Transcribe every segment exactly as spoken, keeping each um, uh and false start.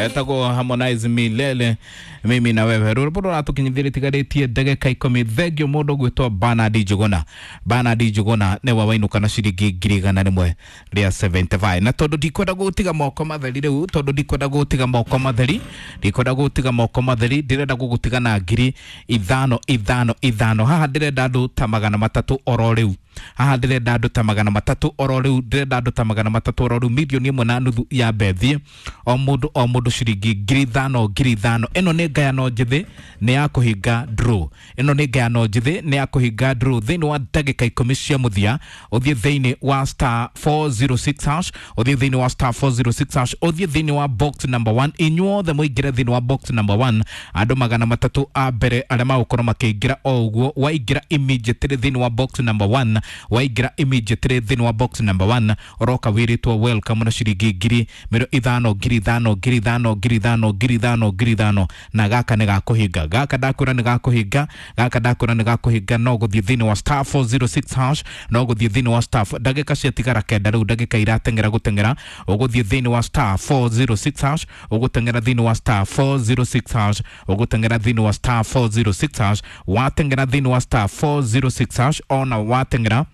Etagwo Harmonize, "Milele Mimi na Wewe", rwĩmbo rũratũkinyithĩria tigarĩtie ndagĩka ikũmi. Thengio mũndũ gwĩtwo Bernard Njuguna. Bernard Njuguna nĩwe wainũka na ciringi ngiri igana rĩmwe rĩa mĩrongo mũgwanja na ithano. Na tondũ ndikwenda gũtiga moko matheri rĩu, tondũ ndikwenda gũtiga moko matheri, ndikwenda gũtiga moko matheri, ndĩrenda gũgũtiga na ngiri ithano ithano ithano. Haha ndĩrenda andũ ta magana matatũ oro rĩu. Haha ndĩrenda andũ ta magana matatũ oro rĩu. Ndĩrenda andũ ta magana matatũ oro rĩu. Milioni ĩmwe na nuthu ya mbethi, o mũndũ o mũndũ ciringi ngiri ithano ngiri ithano. Ĩno nĩ ngayano njĩthĩ, nĩ ya kũhinga draw. Ĩno nĩ ngayano njĩthĩ, nĩ ya kũhinga draw. Thĩinĩ wa ndagĩka ikũmi cia mũthia, ũthiĩ thĩinĩ wa star four zero six hash, ũthiĩ thĩinĩ wa star four zero six hash, ũthiĩ thĩinĩ wa box number one. Inyuothe mũingĩre thĩinĩ wa box number one. Andũ magana matatũ a mbere arĩa magũkorwo makĩingĩra o ũguo, waingĩra immediately thĩinĩ wa box number one, waingĩra immediately thĩinĩ wa box number one, ũroka wĩrĩtwo welcome na ciringi ngiri mĩrongo ithano ngiri ithano ngiri ithano ngiri ithano ngiri ithano ngiri ithano. Na gaka nĩ gakũhinga. Gaka ndakwĩra nĩ gakũhinga. Gaka ndakwĩra nĩ gakũhinga. No gũthiĩ thĩinĩ wa star four zero six hash, no gũthiĩ thĩinĩ wa star. Ndagĩka ciatigara kenda rĩu, ndagĩka irateng'era gũteng'era. Ũgũthiĩ thĩinĩ wa star four zero six hash, ũgũteng'era thĩinĩ wa star four zero six hash, ũgũteng'era thĩinĩ wa star four zero six hash. Wateng'era thĩinĩ wa star four zero six hash, ona wateng'era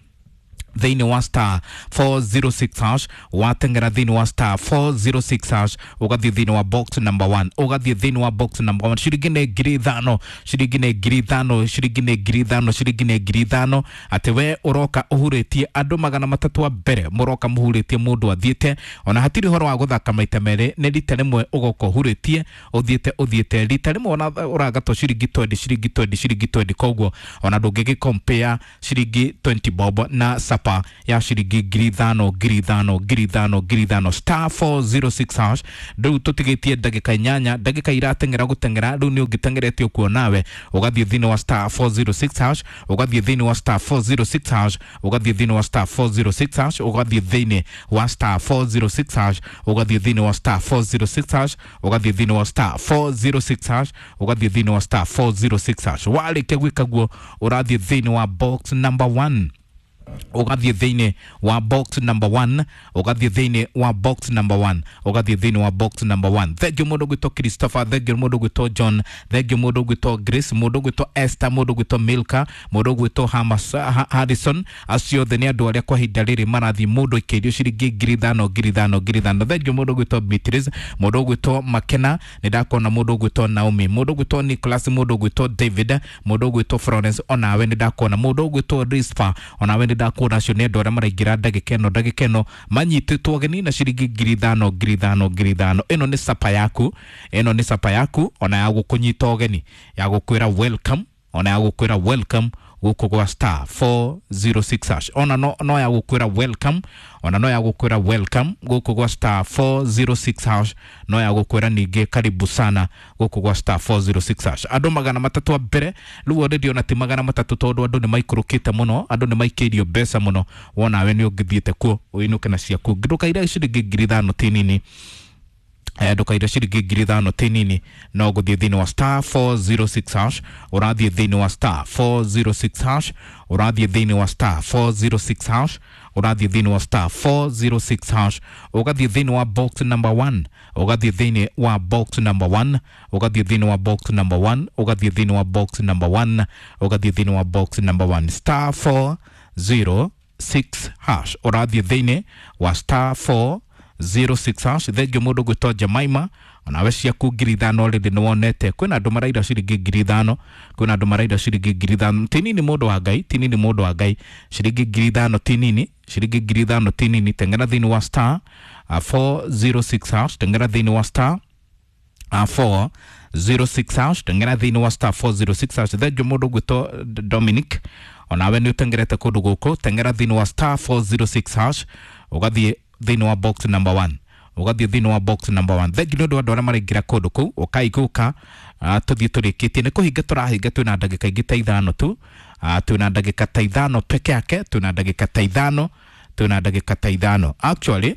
thĩinĩ wa star four zero six hash, wateng'era thĩinĩ wa star four zero six hash, ũgathiĩ thĩinĩ wa box number one, ũgathiĩ thĩinĩ wa box number one. Ciringi nĩ ngiri ithano, ciringi nĩ ngiri ithano, ciringi nĩ ngiri ithano, ciringi nĩ ngiri ithano. Atĩ we ũroka ũhurĩtie andũ magana matatũ a mbere, mũroka mũhurĩtie mũndũ athiĩte. Ona hatirĩ ũhoro wa gũthaka maita merĩ, nĩ rita rĩmwe ũgoka ũhurĩtie ũthiĩte ũthiĩte rita rĩmwe. Ona ũragatwo ciringi mĩrongo ĩĩrĩ, ciringi mĩrongo ĩĩrĩ, ciringi mĩrongo ĩĩrĩ. Koguo ona ndũngĩgĩ compare ciringi mĩrongo ĩĩrĩ bob na sapa ya ciringi ngiri ithano ngiri ithano ngiri ithano ngiri ithano. Star four zero six hash. Rĩu tũtigĩtie ndagĩka inyanya, ndagĩka irateng'era gũteng'era. Rĩu nĩ ũngĩteng'erete ũkuo nawe ũgathiĩ thĩinĩ wa star four zero six hash, ũgathiĩ thĩinĩ wa star four zero six hash, ũgathiĩ thĩinĩ wa star four zero six hash, ũgathiĩ thĩinĩ wa star four zero six hash, ũgathiĩ thĩinĩ wa star four zero six hash, ũgathiĩ thĩinĩ wa star four zero six hash, ũgathiĩ thĩinĩ wa star four zero six hash. Warĩkia gwĩka guo, ũrathiĩ thĩinĩ wa box number one, ũgathiĩ thĩinĩ wa box number one, ũgathiĩ thĩinĩ wa box number one, ũgathiĩ thĩinĩ wa box number one. Thengio mũndũ gwĩtwo Christopher, thengio mũndũ gwĩtwo John, thengio mũndũ gwĩtwo Grace, mũndũ gwĩtwo Esther, mũndũ gwĩtwo Milka, mũndũ gwĩtwo Hamas, ha, Harrison. Acio othe nĩ andũ arĩa kwa ihinda rĩrĩ marathiĩ mũndũ ikĩirio ciringi ngiri ithano ngiri ithano ngiri ithano. Thengio mũndũ gwĩtwo Beatrice, mũndũ gwĩtwo Makena, nĩ ndakuona. Mũndũ gwĩtwo Naomi, mũndũ gwĩtwo Nicholas, mũndũ gwĩtwo David, mũndũ gwĩtwo Florence, onawe nĩ ndakuona. Mũndũ gwĩtwo Rispa, onawe nĩ ndakuona. Acio nĩ andũ arĩa maraingĩra ndagĩka ĩno, ndagĩka ĩno manyitĩtwo ageni na ciringi ngiri ithano ngiri ithano ngiri ithano. Ĩno nĩ sapa yaku, ĩno nĩ sapa yaku, ona ya gũkũnyita ũgeni, ya gũkwĩra welcome, ona ya gũkwĩra welcome gũkũ gwa star four zero six hash. Ona no, no ya gũkwĩra welcome, ona no ya gũkwĩra welcome gũkũ gwa star four zero six hash, no ya gũkwĩra ningĩ karibu sana gũkũ gwa star four zero six hash. Andũ magana matatũ a mbere rĩu already, ona ti magana matatũ tondũ andũ nĩ maikũrũkĩte mũno, andũ nĩ maikĩirio mbeca mũno. Wonawe nĩ ũngĩthiĩte kuo ũinũke na ciaku. Ndũkaire ciringi ngiri ithano ti nini. Eh, ndũkaire ciringi ngiri ithano ti nini. No gũthiĩ thĩinĩ wa star four zero six hash, ũrathiĩ thĩinĩ wa star four zero six hash, ũrathiĩ thĩinĩ wa star four zero six hash, ũrathiĩ thĩinĩ wa star four zero six hash, ũgathiĩ thĩinĩ wa box number one, ũgathiĩ thĩinĩ wa box number one, ũgathiĩ thĩinĩ wa box number one, ũgathiĩ thĩinĩ wa box number one, ũgathiĩ thĩinĩ wa box number one. Star four zero six hash, ũrathiĩ thĩinĩ wa star four zero six hash. Thengio mũndũ gwĩtwo Jemaima, onawe ciaku ngiri ithano rĩndĩ nĩ wonete. Kwĩna andũ maraira ciringi ngiri ithano, kwĩna andũ maraira ciringi ngiri ithano. Ti nini, mũndũ wa Ngai, ti nini, mũndũ wa Ngai. Ciringi ngiri ithano ti nini, ciringi ngiri ithano ti nini. Teng'era thĩinĩ wa star uh, four zero six hash, teng'era thĩinĩ wa star uh, four zero six hash, teng'era thĩinĩ wa star four zero six hash. Thengio mũndũ gwĩtwo Dominic, onawe nĩ ũteng'erete kũndũ gũkũ. Teng'era thĩinĩ wa star four zero six hash, ũgathiĩ thĩinĩ wa box number one, ũgathiĩ thĩinĩ wa box number one. Thengi nĩ ũndũ wa andũ arĩa maraingĩra kũndũ kũu. Ũkai gũka tũthiĩ tũrĩkĩtie, nĩ kũhinga tũrahinga. Twĩna ndagĩka ingĩ ta ithano tu, uh, twĩna ndagĩka ta ithano peke yake, twĩna ndagĩka ta ithano, twĩna ndagĩka ta ithano. Actually,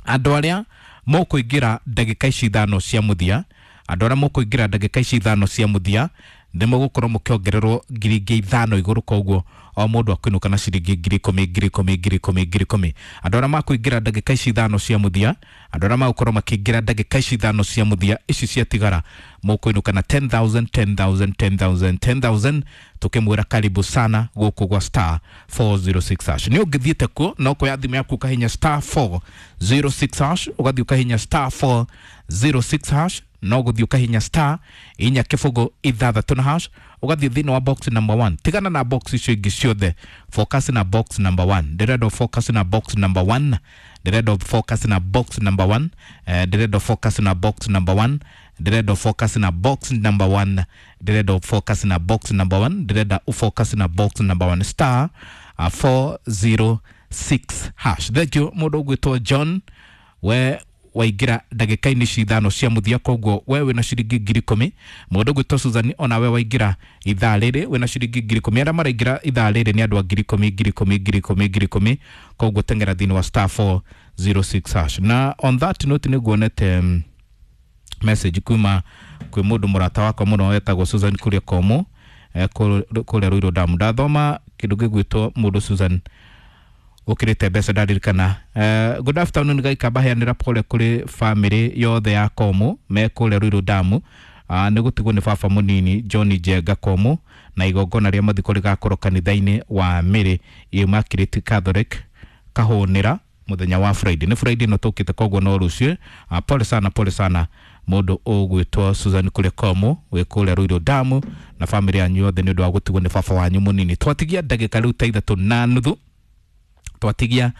andũ arĩa mũkũingĩra ndagĩka ici ithano cia mũthia, andũ arĩa mũkũingĩra ndagĩka ici ithano cia mũthia, Nĩ mũgũkorwo mũkĩongererwo ngiri ingĩ ithano igũrũ, koguo o mũndũ akũinũka na ciringi ngiri ikũmi ngiri ikũmi ngiri ikũmi ngiri ikũmi. Andũ arĩa makũingĩra ndagĩka ici ithano cia mũthia, andũ arĩa magũkorwo makĩingĩra ndagĩka ici ithano cia mũthia ici ciatigara, mũkũinũka na ten thousand ten thousand ten thousand ten thousand. Tukĩmwĩra karibu sana gũkũ gwa star four zero six hash. Nĩ ũngĩthiĩte kuo no kuoya thimũ yaku ũkahinya star four zero six hash, ũgathiĩ ũkahinya star four zero six hash, no gũthiĩ ũkahinya star inya kĩbũgũ ithathatũ na hash, ũgathiĩ thĩinĩ wa box number one. Tigana na box icio ingĩ ciothe, focus na box number one. Ndĩrenda focus na box number one, ndĩrenda focus na box number one, eh, ndĩrenda focus na box number one, ndĩrenda focus na box number one, ndĩrenda focus na box number one, ndĩrenda focus na box number one, star uh, four zero six hash. Thank you mũndũ ũgwĩtwo John, we waingĩra ndagĩka-inĩ ici ithano cia mũthia, koguo we wĩna ciringi ngiri ikũmi. Mũndũ ũgwĩtwo Susan, onawe waingĩra ithaa rĩrĩ wĩna ciringi ngiri ikũmi. Arĩa maraingĩra ithaa rĩrĩ nĩ andũ a ngiri ikũmi ngiri ikũmi ngiri ikũmi ngiri ikũmi, koguo teng'era thĩinĩ wa star four zero six hash. Na on that note nĩ nguonete um, message kuma kwĩ mũndũ mũrata wakwa mũno wetagwo Susan kũrĩa Komo, eh, kũrĩa Ruiru Dam. Ndathoma kĩndũ gĩgwĩtwo mũndũ Susan ukirite mbeca ndaririkana. Uh, good afternoon gaikamba heanĩra pole kũrĩ family yothe ya Komo me kũrĩa Ruiru Dam. Uh, nĩ gũtigwo nĩ baba mũnini John Njenga Komo, na igongona rĩa mathiko rĩgakorwo kanitha-inĩ wa Mary Immaculate Catholic Kahũnĩra mũthenya wa Friday. Nĩ Friday no tũkĩte, koguo no rũciũ. Uh, pole sana, pole sana mũndũ ũgwĩtwo Susan kũrĩa Komo wĩ kũrĩa Ruiru Dam na family yanyu yothe nĩ ũndũ wa gũtigwo nĩ baba wanyu mũnini. Twatigia ndagĩka rĩu ta ithatũ na nuthu, twatigia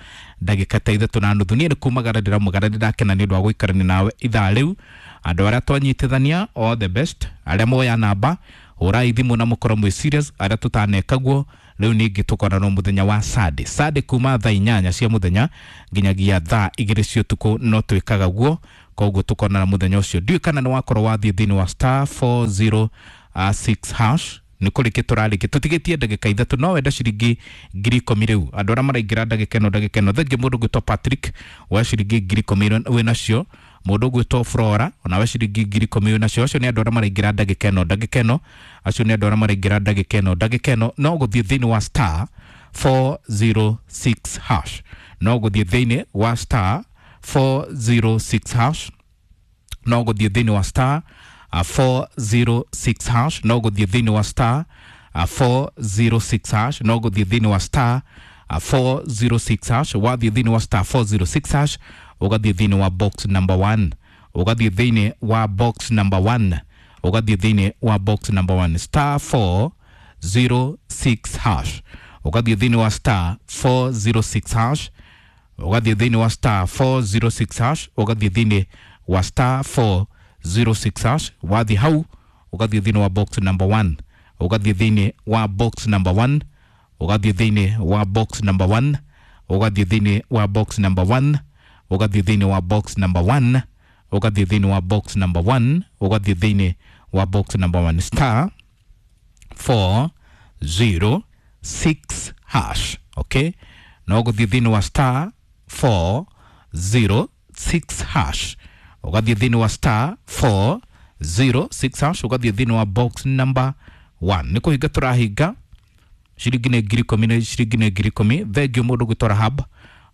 ndagĩka ta ithatũ na nuthu. Niĩ nĩ kumagara ndĩramugara, ndĩrakena nĩ ũndũ wa gũikarania nawe ithaa rĩu. Andũ arĩa twanyitithania, all the best. Arĩa moya namba, hũrai thimũ na mũkorwo mwĩ serious. Arĩa tũtaneka guo, rĩu ningĩ tũkonana mũthenya wa Sunday, Sunday kuma thaa inyanya cia mũthenya nginyagia thaa igĩrĩ cia ũtukũ no twĩkaga guo, koguo tũkonana mũthenya ũcio. Ndiũĩ kana nĩ wakorwo wathiĩ thĩinĩ wa star four zero six hash. Nĩ kũrĩkia tũrarĩkia, tũtigĩtie ndagĩka ithatũ, no wenda ciringi ngiri ikũmi rĩu. Andũ arĩa maraingĩra ndagĩka ĩno ndagĩka ĩno, thengi mũndũ ũgwĩtwo Patrick wa ciringi ngiri ikũmi wĩ nacio, mũndũ ũgwĩtwo Flora onawe ciringi ngiri ikũmi wĩ nacio. Acio nĩ andũ arĩa maraingĩra ndagĩka ĩno ndagĩka ĩno, acio nĩ andũ arĩa maraingĩra ndagĩka ĩno ndagĩka ĩno. No gũthiĩ thĩinĩ wa star four zero six hash, no gũthiĩ thĩinĩ wa star four zero six hash, no gũthiĩ thĩinĩ wa star uh, four zero six hash, no gũthiĩ thĩinĩ wa star uh, four zero six hash, no gũthiĩ thĩinĩ wa star uh, four zero six hash. Wathiĩ thĩinĩ wa star four zero six hash, ũgathiĩ thĩinĩ wa box number one, ũgathiĩ thĩinĩ wa box number one, ũgathiĩ thĩinĩ wa box number one, star four zero six hash, ũgathiĩ thĩinĩ wa star four zero six hash, ũgathiĩ thĩinĩ wa star four zero six hash, ũgathiĩ thĩinĩ wa star four zero six hash. Wathiĩ hau ũgathiĩ thĩinĩ wa box number one, ũgathiĩ thĩinĩ wa box number one, ũgathiĩ thĩinĩ wa box number one, ũgathiĩ thĩinĩ wa box number one, ũgathiĩ thĩinĩ wa box number one, ũgathiĩ thĩinĩ wa box number one, ũgathiĩ thĩinĩ wa box number one, star four zero six hash. Okay, no gũthiĩ thĩinĩ wa star four zero six hash, ũgathiĩ thĩinĩ wa star four zero six hash, ũgathiĩ thĩinĩ wa box number one. Nĩ kũhinga tũrahinga, ciringi nĩ ngiri ikũmi, nĩ ciringi nĩ ngiri ikũmi. Thengio mũndũ gwĩtwo Rahab,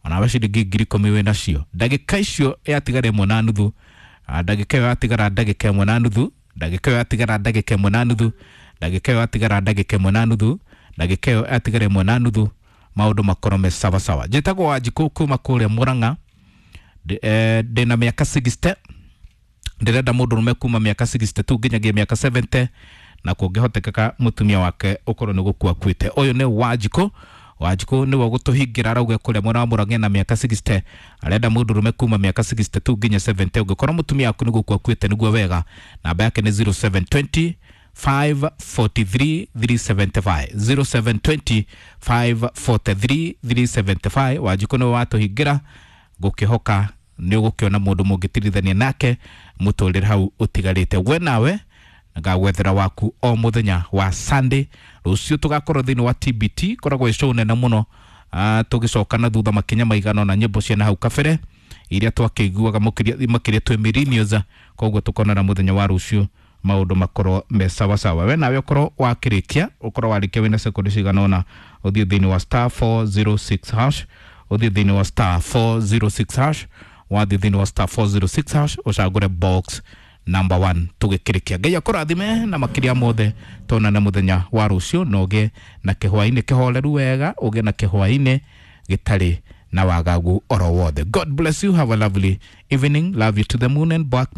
onawe ciringi ngiri ikũmi wĩ nacio. Ndagĩka icio yatigara ĩmwe na nuthu, ndagĩka ĩyo yatigara ndagĩka ĩmwe na nuthu, ndagĩka ĩyo yatigara ndagĩka ĩmwe na nuthu, ndagĩka ĩyo yatigara ndagĩka ĩmwe na nuthu, ndagĩka ĩyo yatigara ĩmwe na nuthu, maũndũ makorwo me sawasawa. Njĩtagwo Wanjikũ kuma kũrĩa Mũrang'a, ndĩna mĩaka sixty, ndĩrenda mũndũrũme kuma mĩaka sixty two nginyagia mĩaka seventy, na kũngĩhotekeka mũtumia wake ũkorwo nĩ gũkua akuĩte. Ũyũ nĩ Wanjikũ. Wanjikũ nĩwe ũgũtũhingĩra, arauga kũrĩa mwena wa Mũrang'a na mĩaka sixty, arenda mũndũrũme kuma mĩaka sixty two nginya seventy, ũngĩkorwo mũtumia waku nĩ gũkua akuĩte nĩguo wega. Namba yake nĩ zero seven twenty five forty three three seventy five, zero seven twenty five forty three three seventy five. Wanjikũ nĩwe watũhingĩra, ngũkĩhoka nĩ ũgũkĩona mũndũ mũngĩtirithania nake mũtũrĩre hau ũtigarĩte. We nawe ngagwethera waku o mũthenya wa Sunday. Rũciũ tũgakorwo thĩinĩ wa T B T, koragwo ĩ show nene mũno, uh, tũgĩcoka na thutha makinya maigana na nyĩmbo cia na hau kabere iria twakĩiguaga makĩria twĩ millennials. Koguo tũkonana mũthenya wa rũciũ. Maundu makorwo me sawasawa. We nawe ũkorwo wakĩrĩkia, ũkorwo warĩkia wĩna sekondi cigana ũna, ũthiĩ thĩinĩ wa star four zero six hash, ũthiĩ thĩinĩ wa star four zero six hash. Wathiĩ thĩinĩ wa star four zero six hash, ũcagũre box number one. Tũgĩkĩrĩkia, Ngai akũrathime na makĩria mothe tuonane mũthenya wa rũciũ, na ũgĩe na kĩhwainĩ kĩhoreru wega, ũgĩe na kĩhwainĩ gĩtarĩ na wagagu oro wothe. God bless you. Have a lovely evening. Love you to the moon and back.